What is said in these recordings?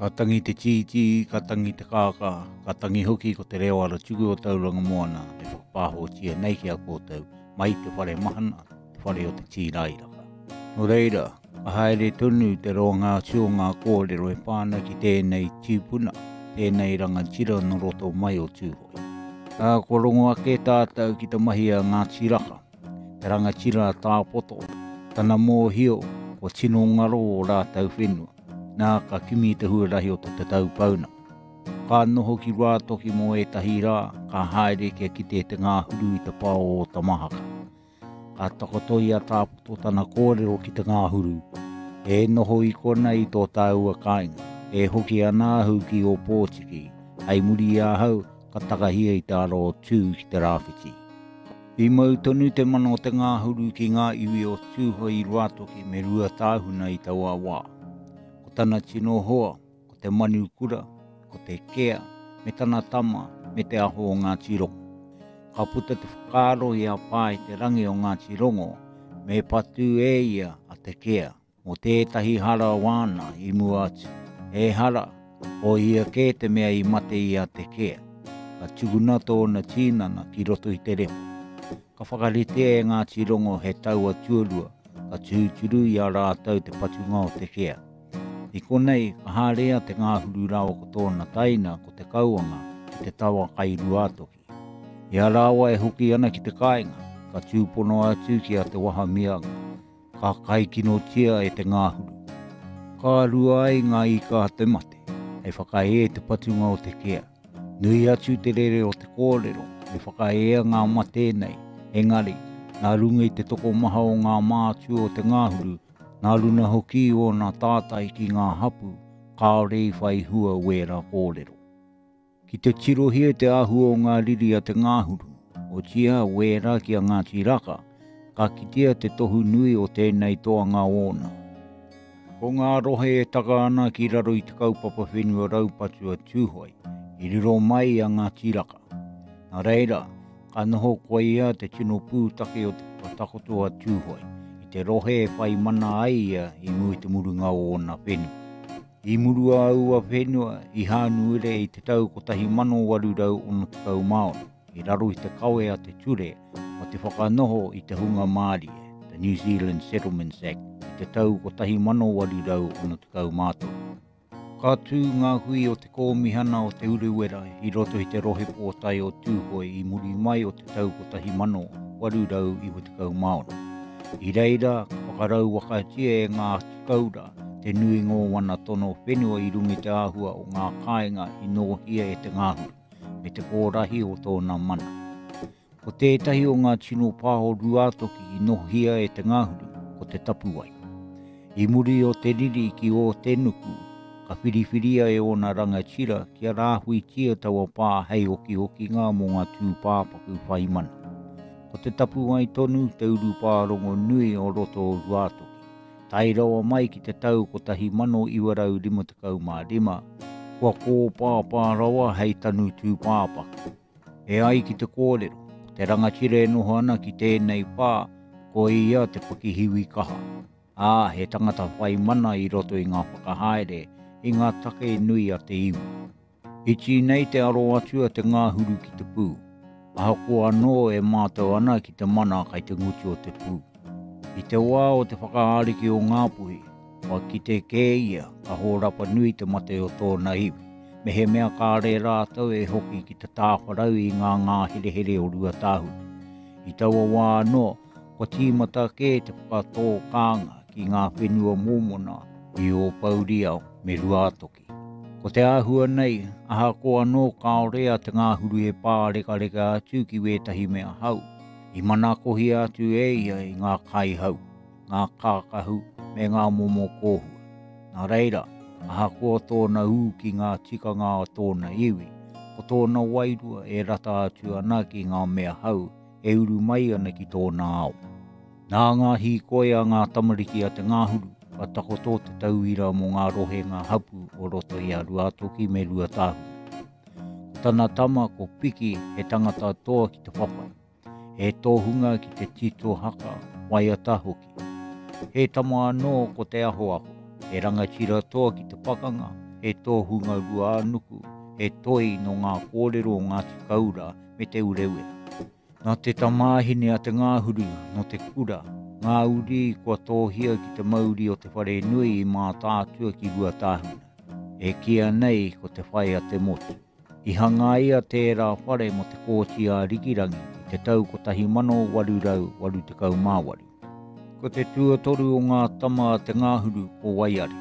Ka tangi te tītī, ka tangi te kākā, ka tangi hoki ko te reo aratuku o Tauranga Moana e whakapāhotia nei ki a koutou mai te whare mahana, te whare o te tīrairaka. Nō reira, ka haere tonu te roanga atu o ngā kōrero e pā ana ki tēnei tīpuna, tēnei rangatira nō roto mai o Tūhoe. Ā, kua rongo ake tātou ki te mahi a Ngāti Raka, te rangatira a Tāpoto, tana mōhio kua tino ngaro ō rātou whenua, nā ka kimi i te huarahi o te tatau pounamu. Ka noho ki Ruātoki mō ētahi rā, ka haere kia kite te ngāhuru i te pā o Ōtamahaka. Ka takoto i a Tāpoto tana kōrero ki te ngāhuru, E noho i konei i tō tāua kāinga, e hoki ana ahu ki Ōpōtiki, hei muri i ahau ka takahia i te ara o Tū ki te rāwhiti. I mau tonu te mana o te ngāhuru ki ngā iwi o Tūhoe i Ruātoki me Ruatāhuna i taua wā. Ko tana tino hoa, ko te manu kura, ko te kea, me tana tama, me te aho o Ngāti Rongo. Ka puta te whakaaro i a Pā i te rangi o Ngāti Rongo, me patu e ia a Te Kea. Mō tētahi hara wāna i mua atu. Ehara, ko ia kē te mea i mate i a Te Kea. Ka tukuna tōna tīnana ki roto i te repo. Ka whakaritea e Ngāti Rongo he taua tuarua ka tūturu i a rātou te patunga o Te Kea. I konei, ka haere a Te Ngāhuru rāua ko tōna taina, ko Te Kauanga, ki te tawa kai Ruātoki. I a rāua e hoki ana ki te kāinga, ka tūpono atu ki a Te Wahamianga, ka kaikinotia e te ngāhuru. Ka rua ai ngā ika a te mate, hei whakaē te patunga o te kea. Nui atu te rere o te kōrero, me whakaea ngā mate nei, engari, nā runga i te tokomaha o ngā mātua o te ngāhuru, nā runa hoki i ōna tātai ki ngā hapū, kāore i whai hua wērā kōrero. Ki te tirohia te āhua o ngā riri a te ngāhuru, otiia wērā ki a Ngāti Raka, ka kitea te tohu nui o tēnei toanga ōna. Ko ngā rohe e taka ana ki raro i te kaupapa whenua raupatu a Tūhoe, i riro mai i a Ngāti Raka. Nā reira, ka noho koia te tino pūtake o te whakatakoto a Tūhoe, i te rohe e whai mana ai ia i mua i te murunga o ōna whenua. I murua aua whenua i Hānuere i te tau 1866 i raro i te kawe a te ture mō te whakanoho i te hunga mārie, the New Zealand Settlements Act, i te tau 1863. Ka tū ngā hui o te Kōmihana o Te Urewera i roto i te rohe pōtae o Tūhoe i muri mai o te tau 1896. I reira, ka whakarauwakatia e Ngāti Koura te nuinga o wana tono whenua i runga i te āhua o ngā kāinga i nōhia e te ngāhuru, me te kōrahi o tōna mana. Ko tētahi o ngā tino pā o Rūātoki i nōhia e te ngāhuru, ko Te Tapuwae. I muri o te riri ki Ōtenuku, ka whiriwhiria e ōna rangatira kia rāhuitia taua pā hei okiokinga mō ngā tūpāpaku whai mana. Ko Te Tapuwae tonu te urupā rongonui o roto o Rūātoki. Tae rawa mai ki te tau 1955, kua kōpāpā rawa hei tanu tūpāpaku. E ai ki te kōrero, ko te rangatira e noho ana ki tēnei pā, ko ia te pakihiwi kaha, ā, he tangata whai mana i roto i ngā whakahaere, i ngā take nui a te iwi. Iti nei te aro atu a te ngāhuru ki te pū, ahakoa anō e mātau ana ki te mana kai te ngutu o te pū. I te wā o te whakaariki o Ngāpuhi, kua kite kē ia ka hōrapa nui te mate o tōna iwi, mehemea kāre rātou e hoki ki te tāwharau i ngā ngāherehere o Ruatāhuna. I taua wā anō, kua tīmata kē te whakatō kānga ki ngā whenua mōmona i Ōpouriao me Ruātoki. Ko te āhua nei, ahakoa anō kāore a Te Ngāhuru e pārekareka atu ki wētahi mea hau, i manakohia atu e ia i ngā kaihau, ngā kākahu me ngā momo kōhua. Nā reira, ahakoa tōna ū ki ngā tikanga a tōna iwi, ko tōna wairua e rata atu ana ki ngā mea hau e uru mai ana ki tōna ao. Nā ngā hīkoi a ngā tamariki a Te Ngāhuru, ka takoto te tauira mō ngā rohenga hapū o roto i a Ruātoki me Ruatāhuna. Ko tana tama ko Piki he tangata toa ki te whawhai, he tohunga ki te tito haka, waiata hoki. He tama anō ko Te Ahoaho, he rangatira toa ki te pakanga, he tohunga ruānuku, he toi nō ngā kōrero o Ngāti Kaura me Te Urewera. Nā te tamāhine a Te Ngāhuru nō te kura, ngā uri kua tōhia ki te mauri o te wharenui i Mātaatua ki Ruatāhuna, e kīia nei ko Te Whai a te Motu. I hangaia tērā whare mō Te Kooti a Rikirangi i te tau 1888. Ko te tuatoru o ngā tama a Te Ngāhuru ko Waiari.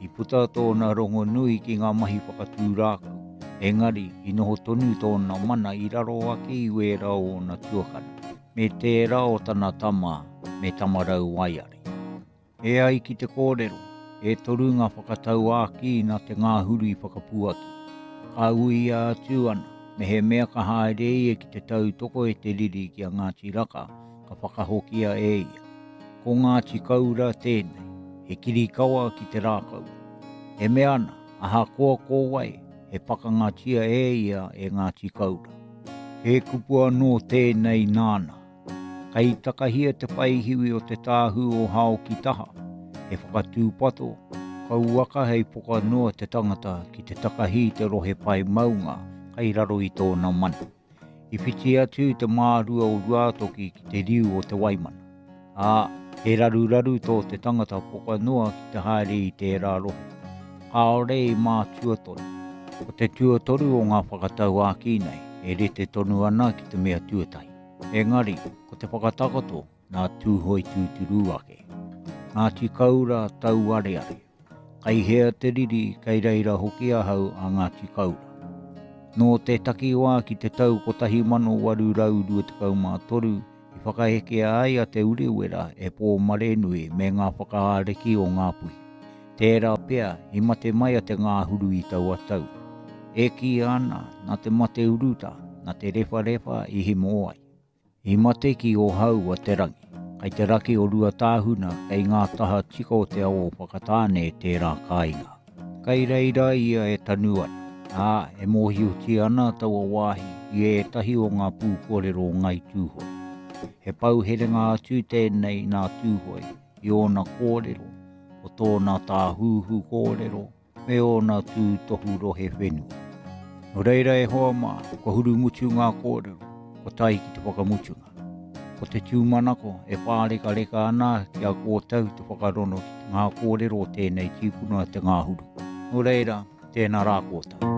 I puta tōna rongonui ki ngā mahi whakatū rākau, engari i noho tonu tōna mana i raro ake i wērā o ōna tuakana, me tērā o tana tama me Tamarau Waiari. E ai ki te kōrero, e toru ngā whakatauākī nā Te Ngāhuru i whakapuaki. Ka uia atu ana, mehemea ka haere ia ki te tautoko i te riri ki a Ngāti Raka, ka whakahokia e ia. Ko Ngāti Kaura tēnei, he kirikawa ki te rākau. E mea ana, ahakoa ko wai, he pakangatia e ia e Ngāti Kaura. He kupu anō tēnei nāna. Kei takahia te paehiwi o te tāhū o Haokitaha, he whakatūpato, kauaka hei poka noa te tangata ki te takahi i te rohe pae maunga kai raro i tōna mana. I whiti atu te mārua o Ruātoki ki te riu o Te Waimana, ā, he raruraru tō te tangata poka noa ki te haere i tērā rohe. Kāore i mātua tonu. Ko te tuatoru o ngā whakatauākī nei e rite tonu ana ki te mea tuatahi. Engari, ko te whakatakoto nā Tūhoe tūturu ake. Ngāti Kaura tauareare. Kai hea te riri, kei reira hoki ahau a Ngāti Kaura. Nō te takiwā ki te tau 1823 i whakaekea ai a Te Urewera e Pōmarenui me ngā whakaariki o Ngāpuhi. Tērā pea i mate mai a Te Ngāhuru i taua tau. E kīia ana, nā te mate urutā, nā te rewharewha i himo ai. I mate ki Ōhau a Te Rangi, kai te raki o Ruatāhuna kei ngā taha tika o te awa o Whakatāne tērā kāinga. Kai reira ia e tanu ana, ā, e mōhiotia ana taua wāhi i ētahi o ngā pūkōrero o Ngāi Tūhoe. He pou herenga atu tēnei nā Tūhoe i ōna kōrero, o tōna tāhuhu kōrero me ōna tūtohu rohe whenua. Nō reira e hoa mā, kua hurumutu ngā kōrero, kua tae ki te whakamutunga. Ko te tūmanako e pārekareka ana ki a kōtou te whakarono ki ngā kōrero o tēnei tīpuna te ngāhuru. Nō reira, tēnā rā kōtou.